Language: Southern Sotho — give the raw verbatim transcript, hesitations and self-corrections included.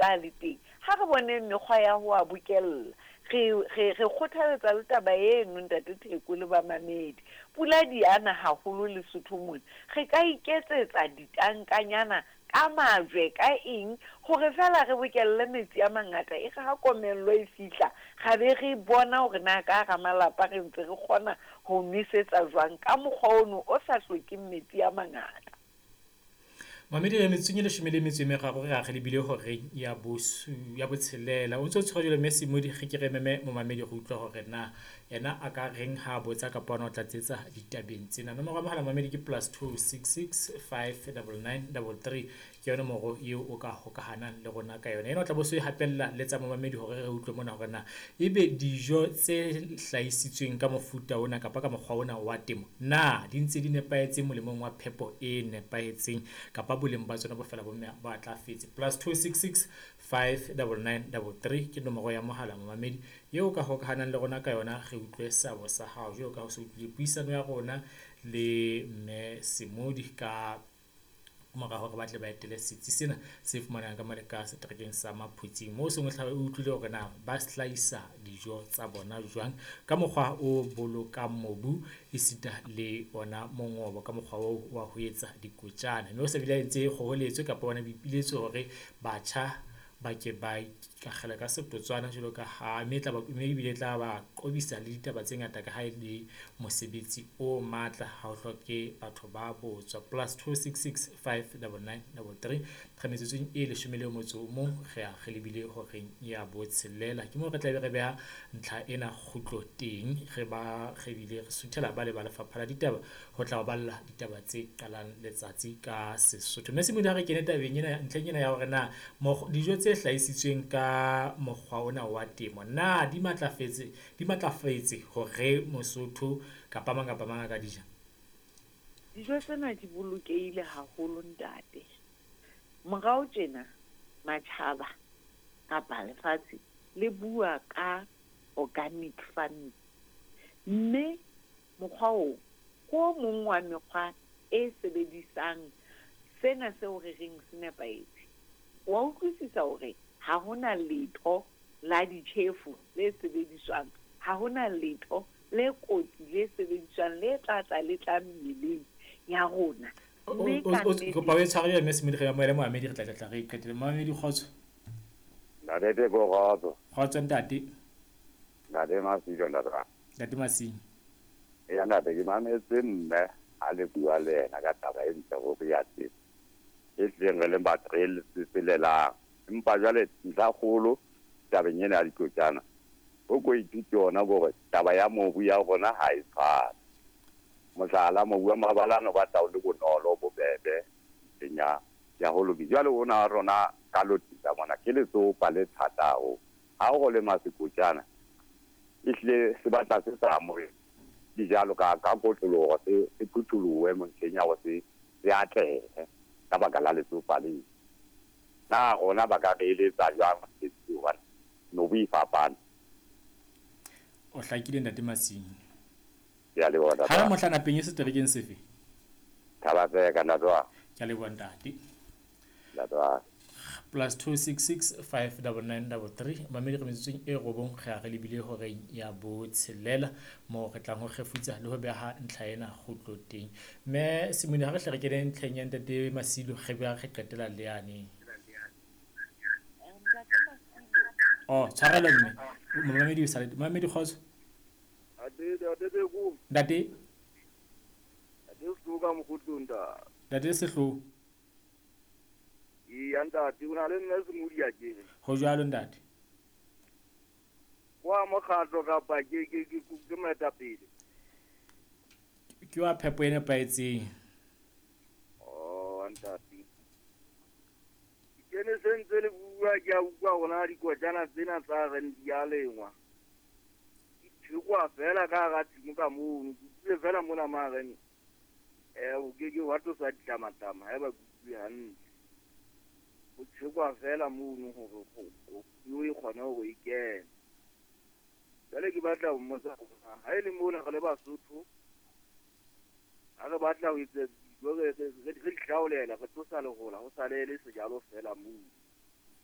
ntse a le teng, ha re boneng mekgwa ya ho a bokella. Re re re kgothaletsa le taba eno, ntate Theko le bamamedi. Pula di ana haholo Lesotho mona. Re ka iketsetsa ditankanyana ka majwe, ka eng, hore feela re bokelle metsi a mangata. E re ha komello e fihla, ra be re bona hore na ka hara malapa re ntse re kgona ho nwesetsa jwang ka mokgwa ono o sa hlokeng metsi a mangata. Mamedi re metsotsong e leshome le metso e meraro re a re lebile horeng ya bosu ya botshelela. O ntso tshwara jwalo mme Semodi re ke re meme momamedi re utlwa hore na yena a ka reng ha a botsa kapa ona o tlatsetsa ditabeng tsena. Nomoro ya mohala mamedi ke plus two six six five double nine double three, ke yona nomoro eo o ka hokahanang le rona ka yona. Ena o tla bo so e hapella le tsa momamedi hore re utlwe mona hore na ebe dijo tse hlahisitsweng ka mofuta ona kapa ka mokgwa ona wa temo na di ntse di nepahetse molemong wa phepo e nepahetseng kapa boleng ba tsona bo fela bo ba atlafetse. Plus two six six five double nine double three ke nomoro ya mohala momamedi eo ka hokahanang le rona ka yona, re utlwe seabo sa hao jwalo ka ha o se utlwile puisano ya rona le mme Semodi ka mora hore ba tle ba etele setsi sena se fumanehang ka mane ka seterekeng sa Maphutsing, moo seng o utlwile hore na ba hlahisa dijo tsa bona jwang ka mokgwa o bolokang mobu esita le ona mongobo ka mokgwa oo wa ho etsa dikotjana. Mme o se bile a entse kgoholetso kapa ona boipiletso hore batjha ba ke ba ikakgela ka setotswana jwalo ka ha mme tla ba mme ebile tla ba qobisa le ditaba tse ngata ka ha e le mosebetsi o matla, ha o hloke batho ba botswa. Plus two six six five double nine double three re metsotsong e leshome le motso o mong re a re lebile horeng ya botshelela. Ke moo re tla be re beha ntlha ena kgutlo teng, re ba re bile re suthela ba le ba lefapha la ditaba ho tla o balla ditaba tse qalang letsatsi ka Sesotho. Mme Semodi ha re kene tabeng ena, ntlheng ena ya hore na dijo tse hlahisitsweng ka mokgwa ona wa temo na di matlafetse di matlafetse hore Mosotho kapa mang kapa mang a ka di ja? Dijo tsena di bolokehile haholo ntate. Morao tjena matjhaba kapa lefatshe le bua ka organic farming, mme mokgwa oo ke o mong wa mekgwa e sebedisang sena seo re reng se nepahetse. Wa utlwisisa hore ha hona letho la ditjhefo le sebediswang, ha hona letho le kotsi le sebediswang le tla tla le tla mmeleng ya rona. Mme ka nnete Kopa o e tshware mme Semodi re amohele moamedi re tla tla re qetele. Moamedi kgotso. Ntate Theko kgotso. Kgotso ntate. Ntate Masilo ntate. Ntate Masilo. Eya ntate ke mametse mme a le bua le yena ka taba e ntle hore ya temo. E tleng re leng batho re le empa jwale ntlha kgolo tabeng ena ya dikotjana o ko ithute yona hore taba ya mobu ya rona ha e tshwane. Mohlala mobu wa mabalane o batla o le bonolo bobebe ntlheng ya ya ho lokisa. Jwale ona wa rona ka lotisa mona ke letsopa le thata haholo. Ha o lema sekotjana ehlile se batla se sa amohele dijalo ka ka kotloloho se se phutholohe ntlheng ya hore se se atlehe ka baka la letsopa leo. Na rona ba ka re eletsa jwang hobane mobu e fapane. O hlakile ntate Masimo. Ke a leboha ntate. Ha mohla napeng e seterekeng sefe? Thaba-Tseka ntate wa. Ke a leboha ntate. Ntate wa. Plus two six six five double nine double three mamedi re metsotsong e robong re a re lebile horeng ya botshelela moo re tlang ho kgefutsa le ho beha ntlha ena kgutlo teng. Mme Semodi ha re hle re kene ntlheng ya ntate Masilo re beha re qetela le yane. Oh, tshwarelo mme. Momamedi o sale. Momamedi kgotso. Ntate Ntate. Ntate Sehloho ka mokgotlong ntate. Ntate Sehloho. Eya ntate, o na le mme Semodi a kere. Ho jwalo ntate. Kwa mokgatlo kapa ke ke ke ke moetapele. Ke wa phepo e nepahetseng. Oh ntate. Ke ne se ntse le bua ke a utlwa hona dikotjana tsena tsa reng di a lengwa. Di thekwa fela ka hara tshimo ka mono. Ke utlwile fela mona mare eh o ke ke wa tlosa ditlamatama haeba ke utlwe hantle. Ho thekwa fela mono hore ho e kgone hore e kene. Jwale ke batla ho mmotsa hore ha e le mona re le Basotho ha re batla ho etsa dijo re re re di hlaolela re tlosa lehola ho sale le sejalo fela moo.